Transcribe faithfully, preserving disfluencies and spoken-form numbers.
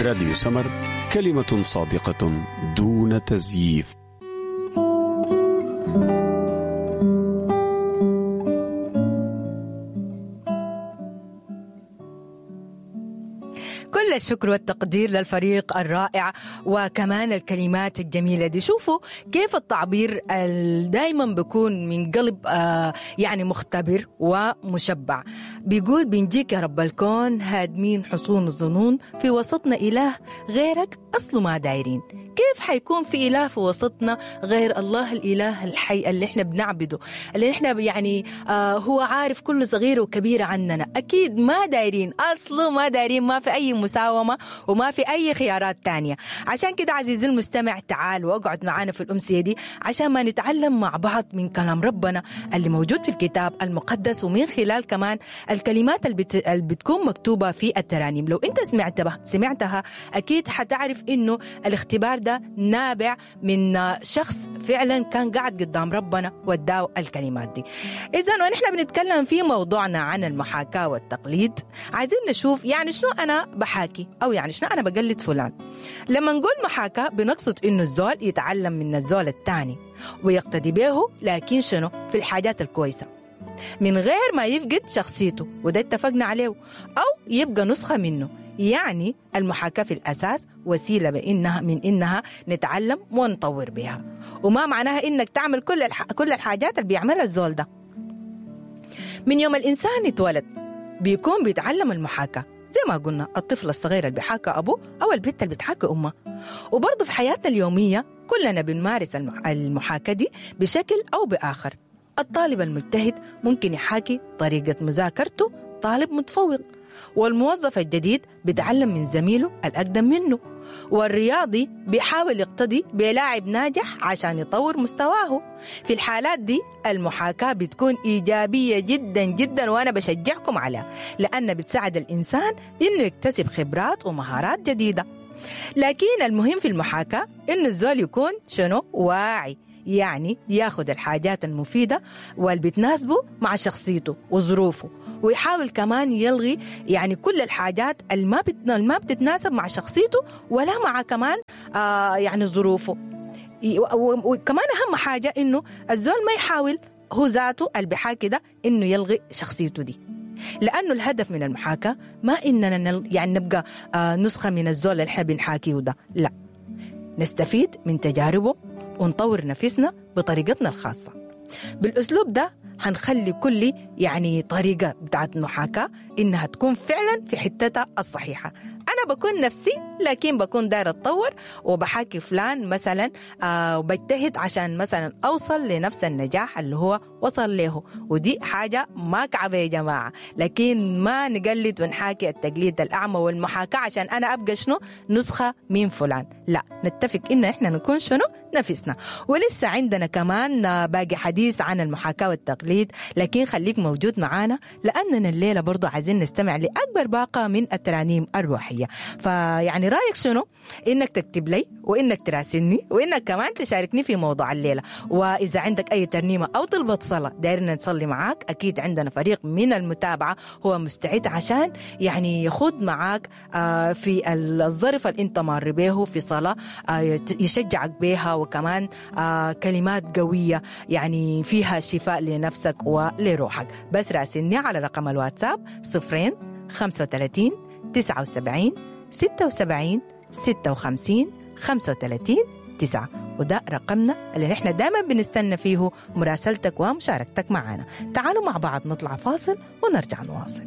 راديو سمر، كلمة صادقة دون تزييف. كل الشكر والتقدير للفريق الرائع وكمان الكلمات الجميلة دي. شوفوا كيف التعبير دايما بيكون من قلب آه يعني مختبر ومشبع. بيقول بنجيك يا رب الكون هادمين حصون الظنون، في وسطنا إله غيرك أصله ما دايرين. كيف حيكون في إله في وسطنا غير الله الإله الحي اللي احنا بنعبده، اللي احنا يعني آه هو عارف كل صغير وكبير عننا؟ أكيد ما دايرين، أصله ما دايرين، ما في أي مساومة وما في أي خيارات تانية. عشان كده عزيزي المستمع تعال واقعد معانا في الأمسية دي عشان ما نتعلم مع بعض من كلام ربنا اللي موجود في الكتاب المقدس، ومن خلال كمان الكلمات اللي, بت... اللي بتكون مكتوبة في الترانيم. لو انت سمعتها سمعتها أكيد حتعرف إنه الاختبار ده نابع من شخص فعلا كان قاعد قدام ربنا وداه الكلمات دي. إذن ونحن بنتكلم في موضوعنا عن المحاكاة والتقليد، عايزين نشوف يعني شنو أنا بحاكي أو يعني شنو أنا بقلد فلان. لما نقول محاكاة بنقصد إنه الزول يتعلم من الزول الثاني ويقتدي به، لكن شنو في الحاجات الكويسة من غير ما يفقد شخصيته، وده اتفقنا عليه، أو يبقى نسخة منه. يعني المحاكاة في الأساس وسيلة بإنها من إنها نتعلم ونطور بها، وما معناها إنك تعمل كل الح... كل الحاجات اللي بيعملها الزول ده. من يوم الإنسان يتولد بيكون بيتعلم المحاكاة، زي ما قلنا الطفل الصغير اللي بيحاكى أبوه أو البنت اللي بتحاكى أمه. وبرضه في حياتنا اليومية كلنا بنمارس المحاكاة دي بشكل أو بآخر. الطالب المجتهد ممكن يحاكي طريقة مذاكرته طالب متفوق، والموظف الجديد بيتعلم من زميله الأقدم منه، والرياضي بيحاول يقتدي بلاعب ناجح عشان يطور مستواه. في الحالات دي المحاكاة بتكون إيجابية جدا جدا، وأنا بشجعكم عليها لأن بتساعد الإنسان إنه يكتسب خبرات ومهارات جديدة. لكن المهم في المحاكاة إنه الزول يكون شنو واعي، يعني ياخد الحاجات المفيدة واللي بتناسبه مع شخصيته وظروفه، ويحاول كمان يلغي يعني كل الحاجات اللي ما ما بتتناسب مع شخصيته ولا مع كمان آه يعني ظروفه. وكمان أهم حاجة إنه الزول ما يحاول هو ذاته اللي بيحاكي ده إنه يلغي شخصيته دي، لأنه الهدف من المحاكاة ما إننا نل يعني نبقى آه نسخة من الزول اللي احنا بنحاكيه ده، لا، نستفيد من تجاربه ونطور نفسنا بطريقتنا الخاصة. بالأسلوب ده هنخلي كل يعني طريقة بتاعت المحاكاة إنها تكون فعلا في حتتها الصحيحة. أنا بكون نفسي لكن بكون دايرة أتطور وبحاكي فلان مثلا آه وبجتهد عشان مثلا أوصل لنفس النجاح اللي هو وصل له، ودي حاجة ما كعبة يا جماعة. لكن ما نقلد ونحاكي التقليد الأعمى والمحاكاة عشان أنا أبقى شنو نسخة من فلان، لا، نتفق إن إحنا نكون شنو نفسنا. ولسه عندنا كمان باقي حديث عن المحاكاة والتقليد، لكن خليك موجود معانا لأننا الليلة برضو عايزين نستمع لأكبر باقة من الترانيم الروحية. فيعني رأيك شنو؟ إنك تكتب لي وإنك تراسلني وإنك كمان تشاركني في موضوع الليلة. وإذا عندك أي ترنيمة أو طلبة صلاة دايرنا نصلي معاك، أكيد عندنا فريق من المتابعة هو مستعد عشان يعني يخوض معاك في الظرف اللي انت مار به في صلاة يشجعك بها، وكمان كلمات قوية يعني فيها شفاء لنفسك ولروحك. بس راسلني على رقم الواتساب صفرين خمسة وثلاثين تسعة وسبعين ستة وسبعين ستة وخمسين خمسة وثلاثين تسعة، وده رقمنا اللي نحن دائما بنستنى فيه مراسلتك ومشاركتك معنا. تعالوا مع بعض نطلع فاصل ونرجع نواصل.